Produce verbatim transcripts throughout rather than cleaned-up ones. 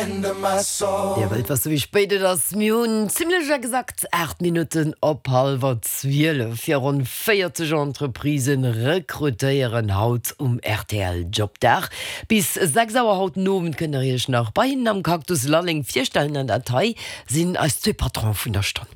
Dir wëllt wësse wéi spéit et ass? Mir hunn zimlech exakt aacht Minutten op hallwer zwielef. Fir ronn véierzeg Entreprisen rekrutéieren haut um rtl Jobdag. Bis sechs Auer haut den Owend kënnt der iech nach bei hinnen am Cactus Lalleng virstellen an dat hei sinn eis zwee Patronen vun der Stonn.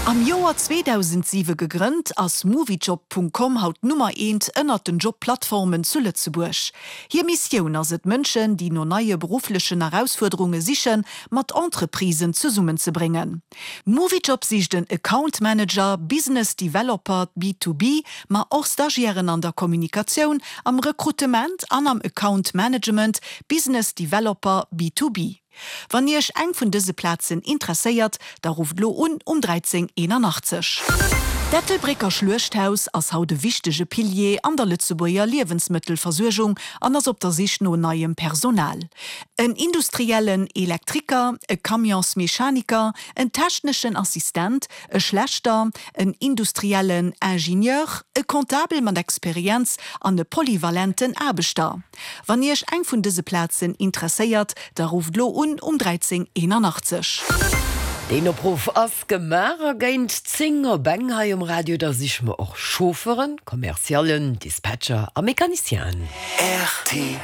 Am Joer zweedausendsiwe gegrënnt, ass Moviejob Punkt com haut d'Nummer eent ënnert den Jobplattformen zu Lëtzebuerg. Hir Missioun ass et, Mënschen, déi no neie berufflechen Erausfuerderunge sichen, mat Entreprisen zesummenzebréngen. Moviejob sicht en Account Manager, Business Developer B to B, ma och Stagiairen an der Kommunikatioun, am Rekrutement an am Account Management, Business Developer B to B. Wann Iech eng vun dëse Plazen interesséiert, da rufft lo un um dräizéng eenanachtzeg. D'Ettelbrécker Schluechthaus ass haut e wichtege Pilier an der Lëtzebuerger Liewensmëttelversuergung an ass op der Sich no neiem Personal. En industriellen Elektriker, e Camionsmechaniker, en techneschen Assistent, e Schlechter, en industriellen Ingenieur, e Comptabel mat Experienz an e polyvalenten Aarbechter. Wann Iech eng vun dëse Plazen interesséiert, da rufft lo un um dräizéng eenanachtzeg. Deen Opruff ass gemaach a géint zéng op eng hei um Radio, da siche mer och Chauffeuren, Commerciallen, Dispatcher a Mecanicienen. Rtl.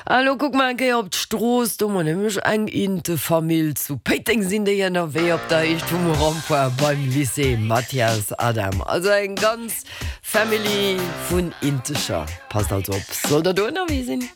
A lo kucke mer eng Kéier op d'Strooss, do hu mer nämlech eng Intefamill. Zu Péiteng sinn déi ënnerwee op der Héicht vum Rond-point beim Lycée Mathias Adam. Also eng ganz Family vun Intecher. Passt also op, sollt der do ënnerwee sinn.